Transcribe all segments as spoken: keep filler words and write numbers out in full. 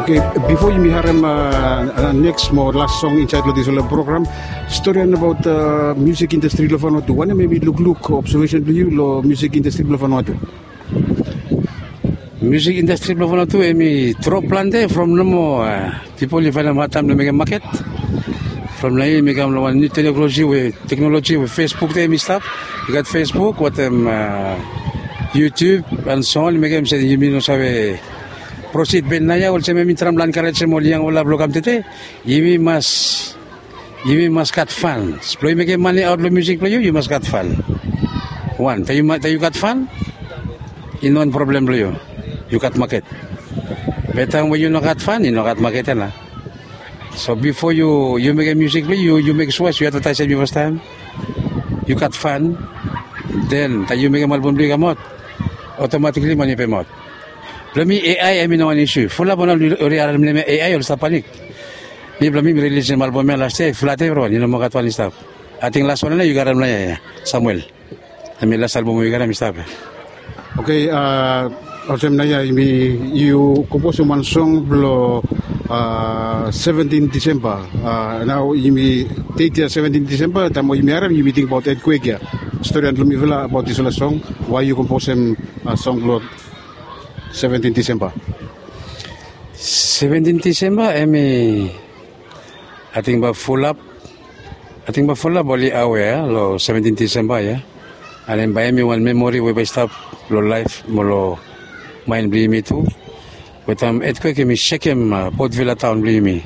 Okay, bifo yumi harem neks mo las song insaed long disfala program, storian abaot musik indastri long Vanuatu, wanem em i lukluk obsevesen blong yu long musik indastri blong Vanuatu? Musik indastri blong Vanuatu em i drop plante from nomo pipol i faenem hadtaem long mekem maket. From long ya yumi kam long wan niu teknoloji we, teknoloji we Facebook tu em i stap. I gat Facebook wetem YouTube and so on, i mekem se yumi no save prosid ben naoia olsem em i traem blong enkarejem ol yangfala blong kam tede. Yumi mas yumi mas gat fan. Blong yu mekem mane aot long musik blong yu, yu mas gat fan. Wan, taem yu gat fan, i no wan problem blong yu. Yu gat maket. Be taem we yu no gat fan, i no gat maket ya nao. So bifo yu mekem musik blong yu, yu mek sua se yu advataesem yu fastaem, yu gat fan. Den taem yu mekem album blong yu i kamaot, otomatikli mane i pemaot. Blong mi, AI em i no wan isu. Fulap wan oli harem nem ya AI oli stap panik. Mi blong mi, mi rilisim album ya las yia, i flat evriwan, i no moa gat wan i stap. Ating las wan ya nao yu karem long ya, Samuel. Em i las album we yu karem i stap ya. Okay, olsem naoia yumi, yu komposim wan song blong seventin Disemba. Nao yumi deit ya seventin Disemba, taem we yumi harem yumi tingbaot etkwek ya. Storian long mifala abaot disfala song, wae yu komposim song blong seventin Disemba? Seventin Disemba em i, ating bae fulap, ating bae fulap oli awea long seventin Disemba ya. And em bae em i wan memori we bae i stap long laef mo long maen blong yumi tu. Wetem etkwek em i sekem Port Vila taon blong yumi.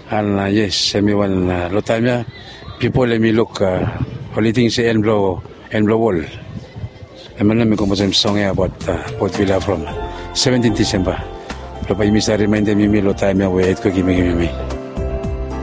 And yes, em i wan, long taem ya pipol em i luk, oli ting se en blong, en blong wol. Em ya nao mi komposim song ya abaot Port Vila from seventin Disemba. Blong bae yumi save rimaendem yumi long taem ya we etkwek i mekem yumi